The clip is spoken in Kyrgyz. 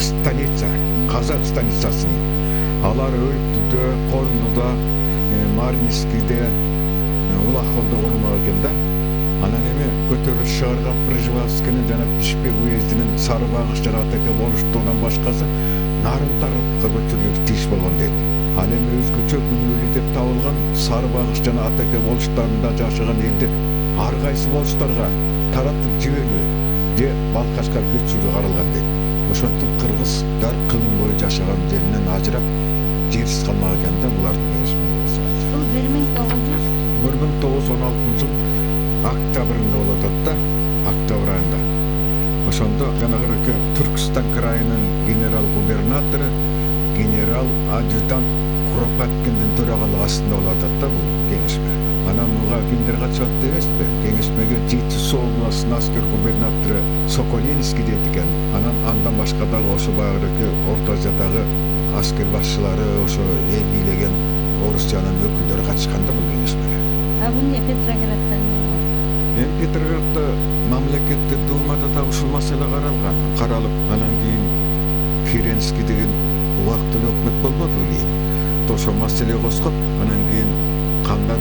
станица, казак станицасын. Алар Өрүктүдө, Корундуда, Маринскийде, Улаховдо курулмак экен да. Анан эми көтөрүлүш чыгарган Пржевальскийнин жана Пишпек уездинин Сары Багыш жана Атаке болуштугунан башкасы нарын тарапка көчүрүлүш тийиш болгон дейт. Ал эми өзгөчө күнөөлүү деп табылган Сары Багыш жана Атаке болуштарында жашаган элди ар кайсы болуштарга таратып жиберүү же Балкашка көчүрүү каралган дейт. Ошентип кыргыздар кылым бою жашаган жеринен ажырап, жерсиз калмак экен да булардын. Бул 1916 жыл октябрында болуп атат да, октябрь айында. Ошондо жанагы Түркстан крайынын генерал-губернатору, генерал-адъютант Куропаткиндин төрагалыгы астында болуп атат да бул кеңешме. Анан буга кимдер катышат дебесизби? Кеңешмеге Жетису областынын аскер губернатору Соколинский дейт экен. Андан башка дагы ошо баягы Орто Азиядагы аскер башчылары, ошо эл бийлеген Орусиянын өкүлдөрү катышкан да бул кеңешмеге. бул не Петрограддан? Эми Петроградда мамлекеттик думада да ушул маселе каралып, анан кийин Керенский деген убактылуу өкмөт болбодубу кийин. Ошо маселе козгоп, анан кийин кандай